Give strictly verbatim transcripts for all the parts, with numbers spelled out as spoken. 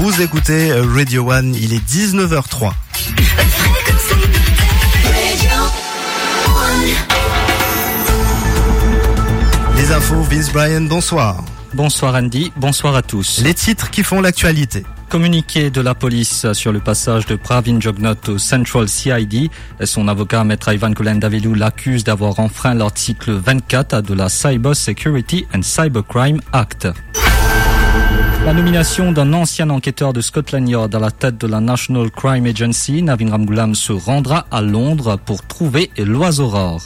Vous écoutez Radio One, il est dix-neuf heures trois. Les infos, Vince Bryan, bonsoir. Bonsoir Andy, bonsoir à tous. Les titres qui font l'actualité. Communiqué de la police sur le passage de Pravin Jugnauth au Central C I D. Son avocat, Maître Ivan Koleandavelou, l'accuse d'avoir enfreint l'article vingt-quatre de la Cyber Security and Cybercrime Act. La nomination d'un ancien enquêteur de Scotland Yard à la tête de la National Crime Agency, Navin Ramgoolam, se rendra à Londres pour trouver l'oiseau rare.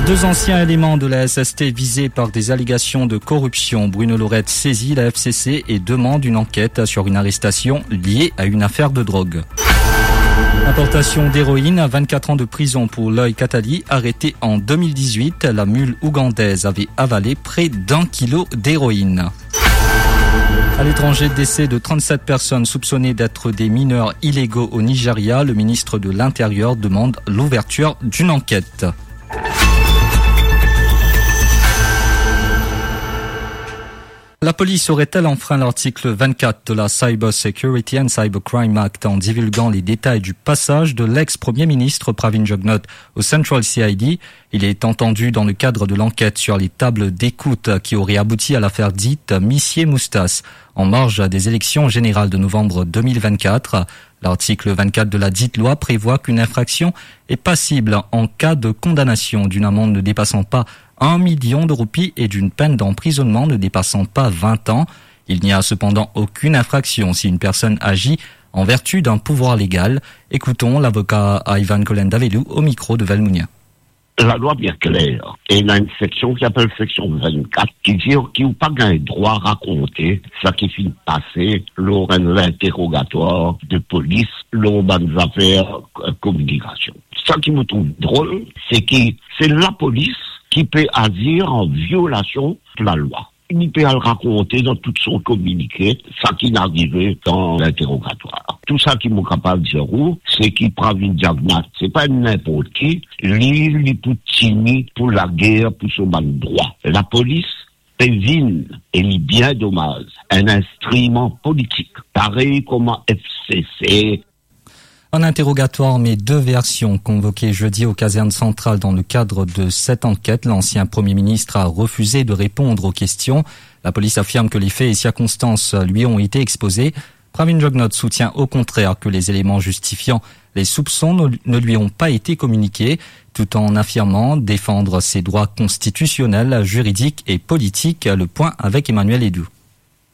Deux anciens éléments de la S S T visés par des allégations de corruption. Bruno Lorette saisit la F C C et demande une enquête sur une arrestation liée à une affaire de drogue. Importation d'héroïne à vingt-quatre ans de prison pour Loy Katali, arrêté en deux mille dix-huit. La mule ougandaise avait avalé près d'un kilo d'héroïne. À l'étranger, décès de trente-sept personnes soupçonnées d'être des mineurs illégaux au Nigeria. Le ministre de l'Intérieur demande l'ouverture d'une enquête. La police aurait-elle enfreint l'article vingt-quatre de la Cyber Security and Cybercrime Act en divulguant les détails du passage de l'ex-premier ministre Pravin Jugnauth au Central C I D ? Il est entendu dans le cadre de l'enquête sur les tables d'écoute qui aurait abouti à l'affaire dite Missier Moustache en marge des élections générales de novembre deux mille vingt-quatre. L'article vingt-quatre de la dite loi prévoit qu'une infraction est passible en cas de condamnation d'une amende ne dépassant pas un million de roupies et d'une peine d'emprisonnement ne dépassant pas vingt ans. Il n'y a cependant aucune infraction si une personne agit en vertu d'un pouvoir légal. Écoutons l'avocat Ivan Koleandavelou au micro de Valmounia. Lalwa bien kler, e ena enn seksion ki apel seksion vennkat, ki dir ki ou pa gagn drwa rakonte sa ki finn pase lor enn linterogatwar de polis lor bann zafer, eh, kominikasion. Sa ki mo trouv drol, se ki se lapolis ki pe azir an violasion de lalwa. Li pe al rakonte dan tout son kominike sa ki'nn arive dan linterogatwar. Tou sa ki mo kapav dir ou, se ki Pravin Jugnauth, se pa enn ninport ki, li, li pou tini pou lager pou so bann drwa. Lapolis pe vinn, e li bien domaz, enn instriman politik, parey kouma F C C. Un interrogatoire met deux versions. Convoqué jeudi aux casernes centrales dans le cadre de cette enquête, l'ancien Premier ministre a refusé de répondre aux questions. La police affirme que les faits et circonstances lui ont été exposés. Pravin Jugnauth soutient au contraire que les éléments justifiant les soupçons ne, ne lui ont pas été communiqués, tout en affirmant défendre ses droits constitutionnels, juridiques et politiques. Le point avec Emmanuel Edou.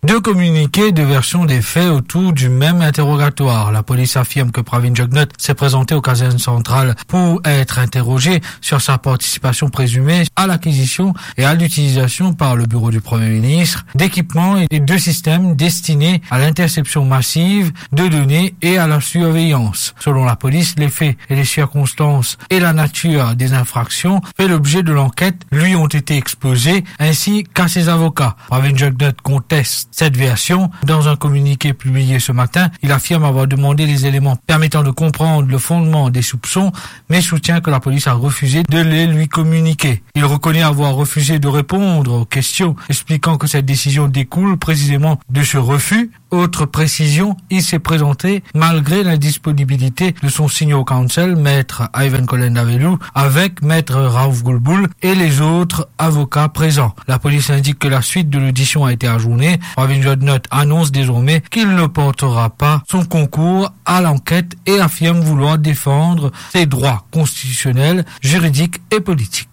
Deux communiqués, deux versions des faits autour du même interrogatoire. La police affirme que Pravin Jugnauth s'est présenté aux casernes centrales pour être interrogé sur sa participation présumée à l'acquisition et à l'utilisation par le bureau du Premier ministre d'équipements et de systèmes destinés à l'interception massive de données et à la surveillance. Selon la police, les faits et les circonstances et la nature des infractions fait l'objet de l'enquête lui ont été exposés, ainsi qu'à ses avocats. Pravin Jugnauth conteste cette version. Dans un communiqué publié ce matin, il affirme avoir demandé les éléments permettant de comprendre le fondement des soupçons, mais soutient que la police a refusé de les lui communiquer. Il reconnaît avoir refusé de répondre aux questions, expliquant que cette décision découle précisément de ce refus. Autre précision, il s'est présenté malgré l'indisponibilité de son senior counsel, maître Ivan Koleandavelou, avec maître Raouf Goulboul et les autres avocats présents. La police indique que la suite de l'audition a été ajournée. Pravin Jugnauth annonce désormais qu'il ne portera pas son concours à l'enquête et affirme vouloir défendre ses droits constitutionnels, juridiques et politiques.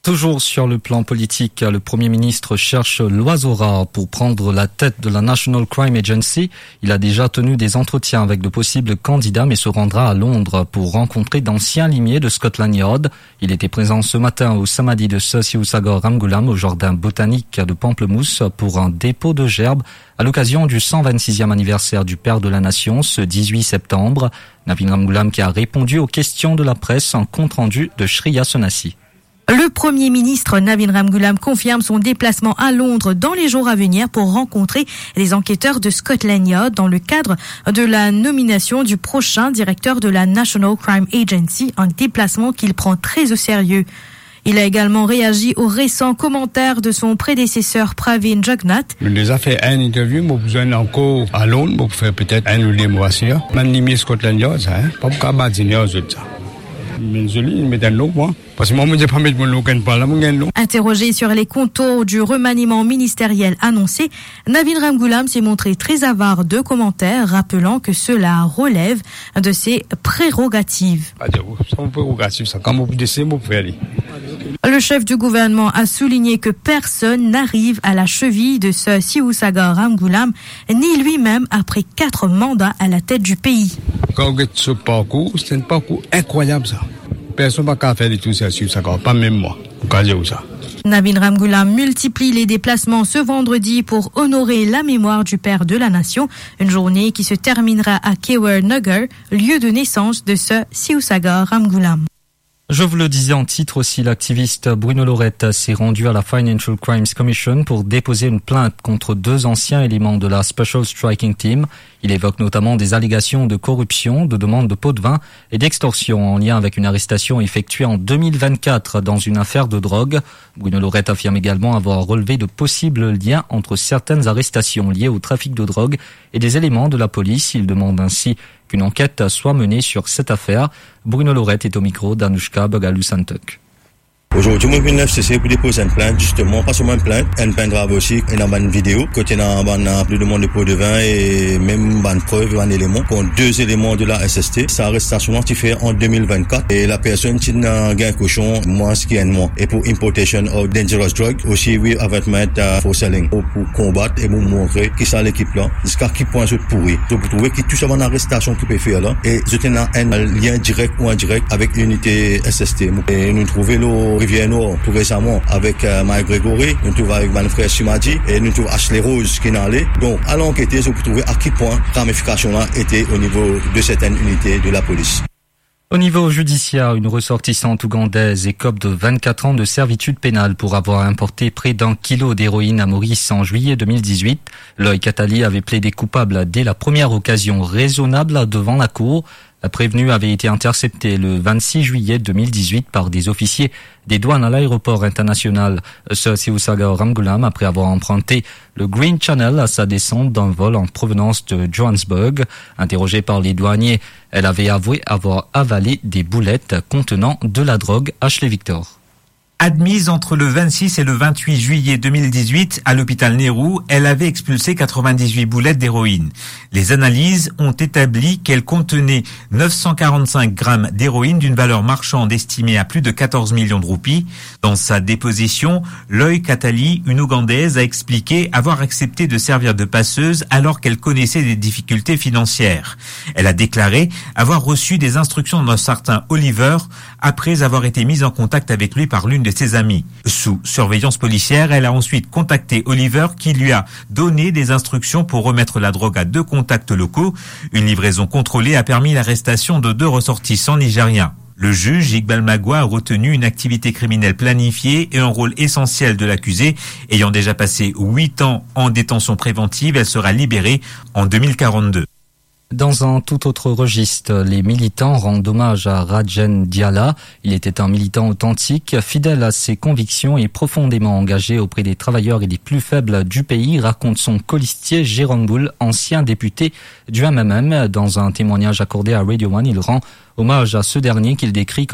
Toujours sur le plan politique, le Premier ministre cherche l'oiseau rare pour prendre la tête de la National Crime Agency. Il a déjà tenu des entretiens avec de possibles candidats, mais se rendra à Londres pour rencontrer d'anciens limiers de Scotland Yard. Il était présent ce matin au samadhi de Sir Sivasagar Ramgoolam au jardin botanique de Pamplemousse pour un dépôt de gerbe à l'occasion du cent vingt-sixième anniversaire du père de la nation, ce dix-huit septembre. Navin Ramgoolam qui a répondu aux questions de la presse, un compte-rendu de Shreya Sonasi. Le Premier ministre Navin Ramgoolam confirme son déplacement à Londres dans les jours à venir pour rencontrer les enquêteurs de Scotland Yard dans le cadre de la nomination du prochain directeur de la National Crime Agency, un déplacement qu'il prend très au sérieux. Il a également réagi aux récents commentaires de son prédécesseur Pravin Jugnauth. Nou deza fer enn interview, mo pou zwenn ankor a Lond, mo pou fer petet enn ou de mwa sir. Bann limie Scotland Yard sa, hein? Pa pou kapav badin ar zot sa. Me zoli, met enn nom, mwa. Parski mwa, mo dir pa met mo nom, kenn pa la, mo gagn nom. Interrogé sur les contours du remaniement ministériel annoncé, Navin Ramgoolam s'est montré très avare de commentaires, rappelant que cela relève de ses prérogatives. Pa dir, sa mo prerogativ sa. Kan mo pou deside, mo pou fer li. Le chef du gouvernement a souligné que personne n'arrive à la cheville de Sir Sibusiso Ramgoolam, ni lui-même après quatre mandats à la tête du pays. Kan ou get so parkour, se enn parkour inkrwayab sa. Personn pa kapav fer li tou sa, Sibusiso, pa mem mwa. Mo kapav dir ou sa. Navin Ramgoolam multiplie les déplacements ce vendredi pour honorer la mémoire du père de la nation, une journée qui se terminera à Kewar Nagar, lieu de naissance de Sir Sibusiso Ramgoolam. Je vous le disais en titre aussi, l'activiste Bruno Laurette s'est rendu à la Financial Crimes Commission pour déposer une plainte contre deux anciens éléments de la Special Striking Team. Il évoque notamment des allégations de corruption, de demande de pot de vin et d'extorsion en lien avec une arrestation effectuée en deux mille vingt-quatre dans une affaire de drogue. Bruno Laurette affirme également avoir relevé de possibles liens entre certaines arrestations liées au trafic de drogue et des éléments de la police. Il demande ainsi qu'une enquête soit menée sur cette affaire. Bruno Laurette est au micro d'Anouchka Bagalou-Santok. Ozordi, mo vinn F C C pou depoz enn plint, zisteman, pa selman enn plint, enn pendrive osi, ena bann video, kot ena bann, euh, plis de demann de pot de vin e mem bann prev, bann eleman, kont de eleman de la S S T. Sa arestasion la ti fer an de mil vennkat e lapersonn ti ena gagn kosion mwins ki enn mwa. E pou importation of dangerous drug, osi with advertisement, euh, for selling. Pou, pou konbat e pou montre ki sa lekip la, ziska ki pwin zot pouri. Zot pou trouve ki tou sa bann arestasion ki pe fer la, e zot ena enn lien direk ou indirek avek linite S S T. E nou trouve lor Rivier Nord tou resaman avek, euh, Mike Gregory, nou trouve avek bann frer Simadi, e nou trouve Ashley Rose ki ena ale. Donk, al ankete, zot pou trouve a ki pwin ramifikasion la ete o nivo de sertenn linite de lapolis. Au niveau judiciaire, une ressortissante ougandaise écope de vingt-quatre ans de servitude pénale pour avoir importé près d'un kilo d'héroïne à Maurice en juillet deux mille dix-huit. Loy Katali avait plaidé coupable dès la première occasion raisonnable devant la cour. La prévenue avait été interceptée le vingt-six juillet deux mille dix-huit par des officiers des douanes à l'aéroport international Sir Sibusiso Ramgoolam après avoir emprunté le Green Channel à sa descente d'un vol en provenance de Johannesburg. Interrogée par les douaniers, elle avait avoué avoir avalé des boulettes contenant de la drogue. Ashley Victor. Admise entre le vingt-six et le vingt-huit juillet deux mille dix-huit à l'hôpital Nehru, elle avait expulsé quatre-vingt-dix-huit boulettes d'héroïne. Les analyses ont établi qu'elle contenait neuf cent quarante-cinq grammes d'héroïne d'une valeur marchande estimée à plus de quatorze millions de roupies. Dans sa déposition, Loy Katali, une Ougandaise, a expliqué avoir accepté de servir de passeuse alors qu'elle connaissait des difficultés financières. Elle a déclaré avoir reçu des instructions d'un certain Oliver après avoir été mise en contact avec lui par l'une de ses amies. Sous surveillance policière, elle a ensuite contacté Oliver qui lui a donné des instructions pour remettre la drogue à deux contacts locaux. Une livraison contrôlée a permis l'arrestation de deux ressortissants nigériens. Le juge Iqbal Magwa a retenu une activité criminelle planifiée et un rôle essentiel de l'accusée. Ayant déjà passé huit ans en détention préventive, elle sera libérée en deux mille quarante-deux. Dans un tout autre registre, les militants rendent hommage à Rajen Djala. Il était un militant authentique, fidèle à ses convictions et profondément engagé auprès des travailleurs et des plus faibles du pays, raconte son colistier Jérôme Boule, ancien député du M M M. Dans un témoignage accordé à Radio One, il rend hommage à ce dernier qu'il décrit